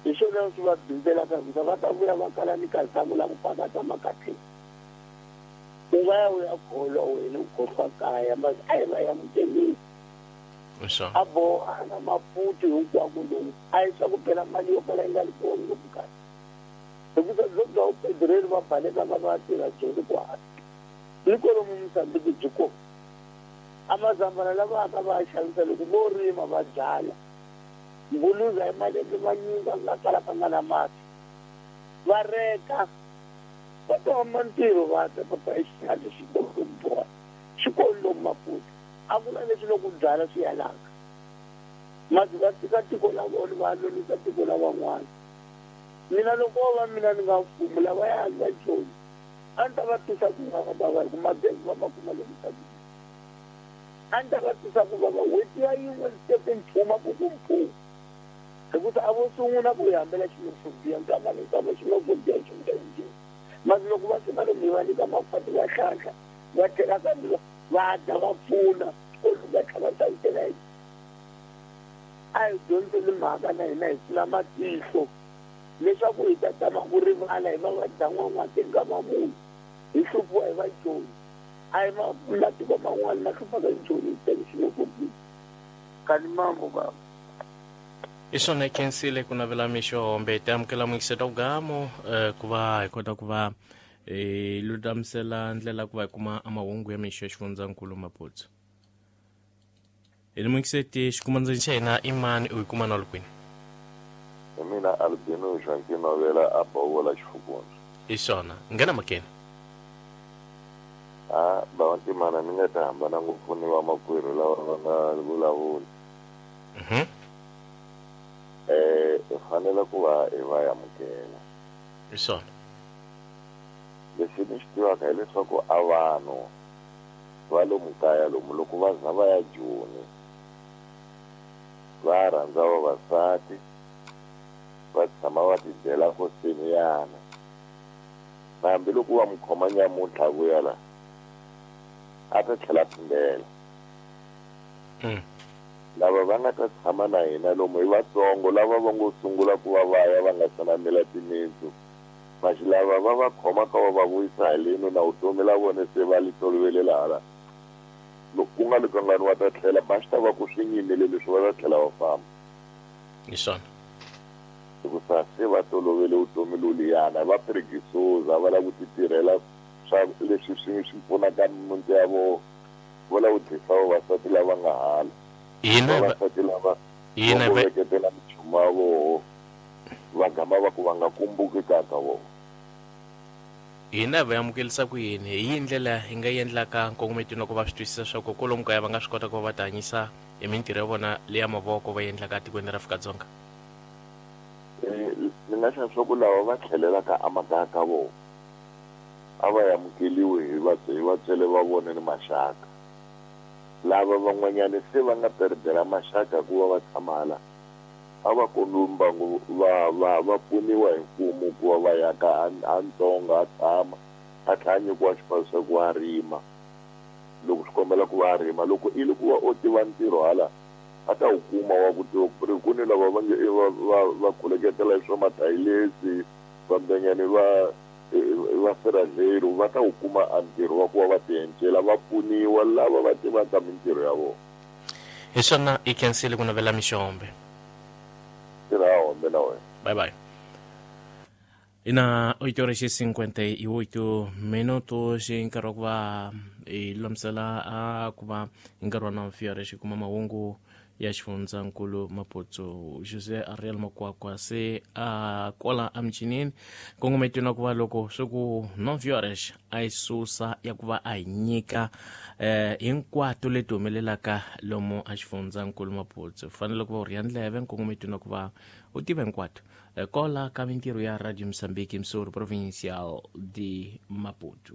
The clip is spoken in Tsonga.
Hi swona swi va bindzelaka hikuva va ta vuya va kala ni kazamu la ku pakata makatleni. U nga ya u ya kholwa wena u khohlwa kaya mara a hi va amukeleni. A boha na Maputo hinkwako lomu a hi swa ku phela mali yo kala yi nga ri kona lomu kaya. Hikuva byo bya vupetiroli va balekaka va ya tirha Joni kwala. Ni kwalomu Mozambique byi kona. A mazambhala lava yaka va ya xavisa loko vo rima va byala. Mbuluza hi malembe manyingi a nga kalaka nga na mati. Va reka va ta huma ntirho va ta papa i xitlhangu xi kona lomu Boha xi kona lomu Maputo. A ku na leswi loko u byala swi yalaka. Masi va tshika tiko la vona va ya lonisa tiko la van'wana. Mina loko wo va mina ni nga mfumo lavayani va Joni a ni ta va twisa ku vava bava hi ku magezi va ma kuma lomu Mozambique. A ni ta va twisa ku vava n'hweti ya yin'we ni teke nchumu a ku ku mphuu hikusa a vo sungula ku hi hambela xenophobia nkama ni nkama xenophobia xi vuya hi njhani. Masi loko va fika lomu hi va nyika makhwati va hlanhla va tlhela kambe va dya va pfuna xikolo va tlhela va xavisela hi A hi dyondzeni mhaka na hina hi pfula matihlo leswaku hi ta tama ku rivala hi va vadyan'wan'wati nkama muni hi hluphiwa hi vajoni. A hi matiko man'wana ma hluphaka hi joni ntsena xenophobia. Kani mambo baba. Hi swona hi khensile ku navela mixo hombe hi amukela muyingiseti wa vugamo ku va hi kota ku va hi lulamisela ndlela ku va hi kuma amahungu ya mixo ya xifundzankulu Maputo. Hi ni muyingiseti xikumandzeni xa hina i mani u yi kuma na kwini? Hi mina Albino Joaquim Novela a Bovola Xifukundza. Hi swona nghena makeni. A bava Ntimana ni nga ta hambana ngopfu ni vamakwerhu lava va nga vulavula. Hi fanele ku va hi va amukela. Hi swona. Lexi ni xi tivaka hileswaku a vanhu va lomu kaya lomu loko va za va ya Joni va rhandza vavasati va tshama va tibyela ko seniyana na hambiloko va mu khoma nyamuntlha a vuya la a ta tlhela a phindela. Lava va nga ta tshama na hina lomu i vatsongo lava va ngo sungula ku va va ya va nga se na mila timitsu. Maxi lava va va khomaka va va vuyisa haleno na vutomi la vona se va li tolovelele hala. Loko ku nga li kangani va ta tlhela, ba swi ta va ku swi nyimile leswi va ta tlhela va famba. Hi swona. Hikusa se va tolovele vutomi loliyana, va preguiçosa, va lava ku titirhela swa leswi swi swi pfunaka mimiti ya vona. Va lava ku dlisa vavasati lava nga hala. Hina hi va Vavasati lava va hina hi ngo va veketela minchumu ya voho. Va gama va ku va nga kumbuki ka ka vona. Hina hi va amukelisa ku yini? Hi yihi ndlela hi nga yi endlaka nkongometo loko va swi twisisa swa ku kwalomu kaya va nga swi kota ku va va tihanyisa hi mintirho ya vona leya mavoko va yi endlaka etikweni ra Afrika-Dzonga? Ni nga xa swa ku lava va tlhelelaka emakaya ka vona a va amukeliwi hi hi vatswele va vona ni maxaka. Lava van'wanyana se va nga perdela maxaka hi ku va va tshama hala, a va kombiwi mbangu va va va pfuniwa hi mfumo ku va va yaka a a ntsonga a tshama a tlhela a nyikiwa xipano xa ku a rima loko swi kombela ku va a rima loko i li ku va o tiva ntirho hala a ta wu kuma wa ku tiva ku ri ku ni lava va nge va va va khuleketela hi swa mathayilesi vambenyani va va sirhaleri va ta wu kuma a ntirho wa ku va va tiencela va pfuniwa lava va tivaka mintirho ya vona. Hi swona i khensile ku navela mixombe. Tirha hombe na wena. Bye bye. Ina 8 horas e 58 minutos i nkarhi wa ku va hi lulamisela a ku va hi nkarhi wa 9 horas hi kuma mahungu ya xifundzankulu Maputo José Ariel Makwakwa se a kwala emichinini nkongometweni wa ku va loko swi ku 9 horas a yi susa ya ku va a hi nyika hinkwato leti humelelaka lomu a xifundzankulu Maputo fanele ku va u rhiya ndleve nkongometweni wa ku va u tiva hinkwato kola ka mintirho ya Radio Mozambique Msoro Provincial de Maputo.